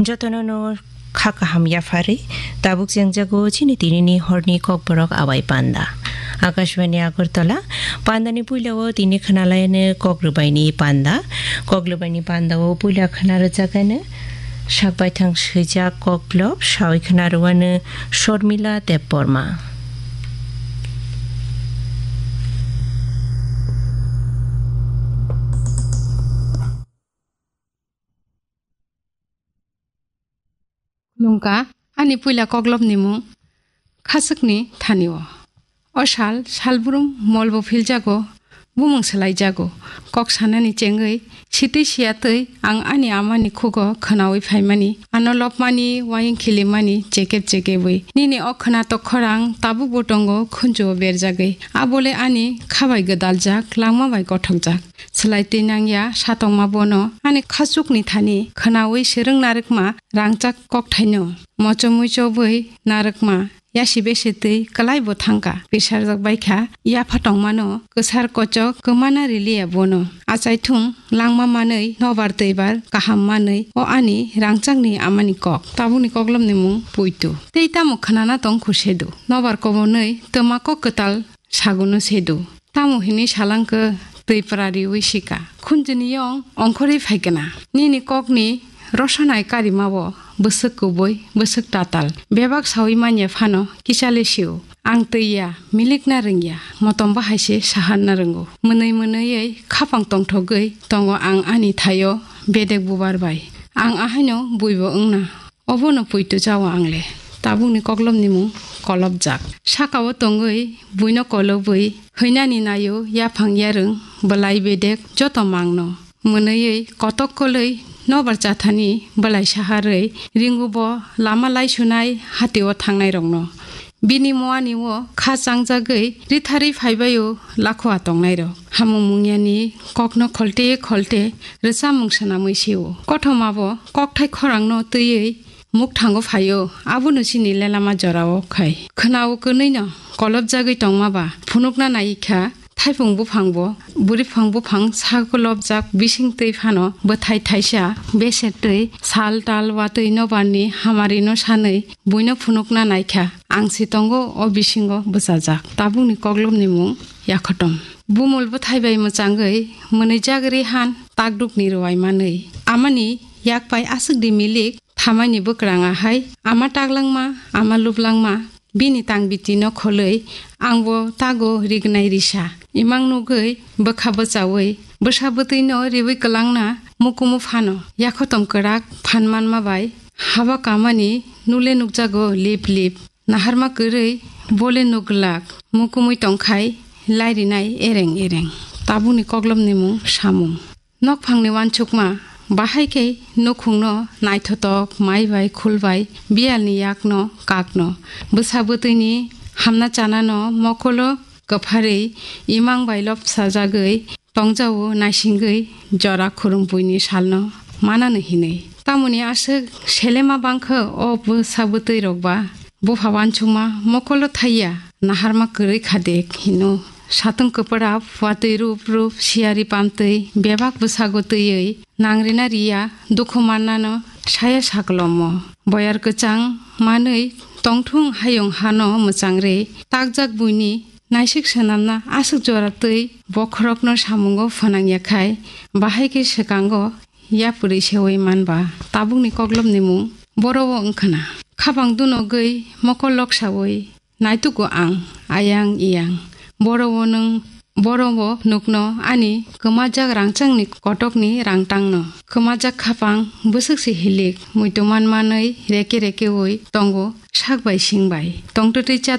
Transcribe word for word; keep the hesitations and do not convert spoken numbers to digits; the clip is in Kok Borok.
Jotono no kha kaham yapharwi tabuk chengjago chini tinini horni kokborok Abai Panda. Akashbani Agartala, pandani puilao tini khwnalaino kok rwbaini panda. Kok rwbaini pandao puila khwna rwjakano sakbaithang swijak koklop sawi khwna rwano Shormila Debbarma. Nungka ani puila koklopni mung Khachukni Thani-o. O sal, salbrum molbo philjago, bumung swlaijago. Kok sanani chengwi, sitwi siyatwi ang ani amani khugo khwnawi phaimani, ano lopmani, wayung khilimani, chekep chekebwi. Nini o khwnatok khorang tabukbo tongo khunjuo berjagwi. Abole ani khabai gwdaljak, langma bai gothokjak. Swlai twi nangya satongma bono ani Khachukni Thani khwnawi swrwng narwkma rangchak kokthaino. Mochomwi chobwi narwkma yasi besi twi kwlaibo thangkha. Pisarjak baikha yapha tongmano kwsar kochok kwmana riliya bono. Achaithung langma manwi nobar twibar kaham manwi o ani rangchakni amani kok. Tabukni koklopni mung Puitu. Tei tamo khwnana tong khusedu. Nobar kobonwi twma kok kwtal saguno sedu. Tamo hinwi salangkhe twi pra riwi sika. Khunjini yong ongkhorwi phaikana. Nini kokni rosanai karimao bwswk kubui, bwswk tatal. Bebak sawi manya phano kichale sio. Ang twi ya, milikna rwngya, motom bahai se saharna rwngo. Mwnwi mwnwiwi khapang tongthogwi tongo ang ani thaio bedek bubar bai. Ang ahaino buibo wngna. Obono Puitu chao ang le. Tabukni koklopni mung Kolopjak. Sakao tongwi buino kolobwi hwinani naio yaphang yarwng bwlai bedek joto mangno. Mwnwiwi kotok kolwi nobar chathani bwlai saharwi ringubo lama laisunai hatio thangnairokno. Bini muani o kha changjagwi ritharwi phaibaio lakhoa tongnairok. Hamung mungyani kokno kholte kholte rwchapmung swnamwi sio. Kothomabo kokthai khorangno twiwi mukthango phaio, abono chini lelama jorao khai. Khwnao kwnwino kolopjagwi tongmaba phunukna naikha, thaipung buphangbo, bwrwiphang buphang sakolopjak bising twi phano bwthai thaisa beser twi sal tal watwi nobarni hamarino sanwi buino phunukna naikha. Ang se tongo o bisingo bwchajak. Tabukni koklopni mung Yakhotom. Bumul bwthai bai mwchangwi mwnwijak rihan takdukni rwai manwi. Amani yakpai aswkdi milik thamaini bwkrang ahai ama taklangma, ama lublangma, bini tang bitino kholwi angbo tago rignai risa. Imang nugwi bwkha bwchawi bwsa bwtwino riwi kwlangna mukumu phano. Yakhotom kwrak phan manma bai haba kamani nule nukjago lip lip. Naharma kwrwi bole nuglak mukumui tongkhai lairinai ereng ereng. Tabukni koklopni mung Samung. Nokphangni uansukma, bahai khe nukhungno naithotok mai bai khul bai biyalni yakno kakno. Bwsa bwtwini hamna chanano mokolo kwpharwi imang bai lopsajagwi tongjao naisingwi jora khurumbuini salno manano hinwi. Tamoni aswk selema bangkha o bwsa bwtwi rokba bupha uansukma mokolo thaiya naharma kwrwi khade hino. Satung kwpwrap watwi rup rup siyari pamtwi bebak bwsago twiwi nangrina riya dukhu mannano saya saklomo. Boyar kwchang manwi tongthung hayung hano mwchangri takjak buini naisik swnamna aswk jora twi bokhorokno samungo phwnangya khai, bahai khe swkango yapri sewi manba. Tabukni koklopni mung boro-o wngkhana. Khapang dunogwi mokol loksawi naitugo ang, ayang iyang. Boro-o nwng, boro-o nukno ani kwmajak rangchakni kotokni rangtangno. Kwmajak khapang bwswk se hilik, muitu man manwi reke rekewi tongo sak bai sing bai. Tongtwtwi chatwtwi